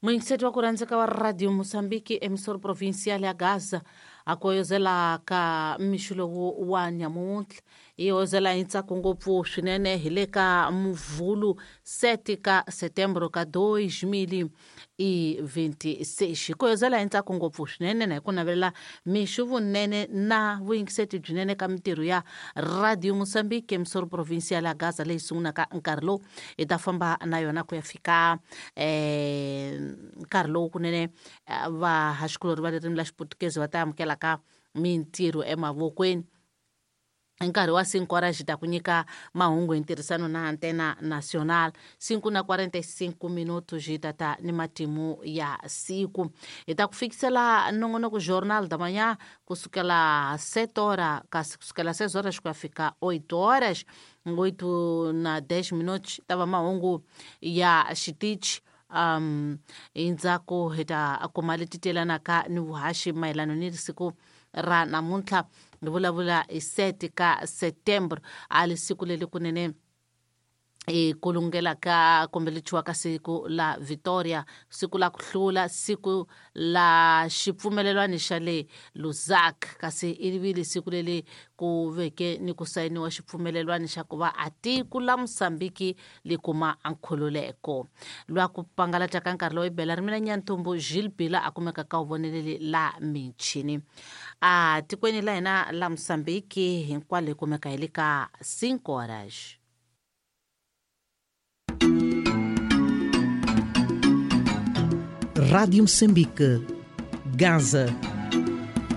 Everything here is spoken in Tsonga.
Muyingiseti wa ku rhandzeka wa Radio Mozambique, emisoro provincial ya Gaza, a ku hoyozela ka mixo lowu wa nyamuntlha. Yi hoyozela hi ntsako ngopfu swinene hi le ka Muvhulu 7 ka Setembro ka 2026. Hi ku hoyozela hi ntsako ngopfu swinene na hi ku navelela mixo vunene na vuyingiseti byinene ka mintirho ya Radio Mozambique, emisoro provincial ya Gaza, leyi sungulaka nkarhi lowu hi ta famba na yona ku ya fika nkarhi lowu kunene vahaxikulori va ririmi la Xiputukezi va ta amukelaka mintirho emavokweni. Hi nkarhi wa 5 horas hi ta ku nyika mahungu hi ntirhisano na Antena Nacional. 5 na 45 minutos hi ta ta ni matimu ya siku. Hi ta ku fikisela nongonoko Jornal da Manhã kusukela 7 horas, kasi kusukela 6 horas ku ya fika 8 horas. 8 na 10 minutos ta va mahungu ya xitichi. Endzhaku hi ta kuma leti telanaka ni vuhaxi mayelana ni siku ra namuntlha. Hi vulavula hi 7 ka Setembro, a li siku leri kunene i ku lungela ka kumbe li ka siku la Victoria, siku la ku hlula, siku la xipfumelelwani xa le Lusaka, kasi i vile siku leri ku veke ni ku sayiniwa xipfumelelwani xa ku va a tiko la Mozambique li kuma nkhululeko. Lwa ku pangalata ka nkarhi lowu i bela rimina Nyantumbu Gilles Bila a kumeka ka vuvoneleli la michini. A tikweni la hina la Mozambique hinkwalo hi kumeka hi le ka 5 horas. Rádio Moçambique, Gaza.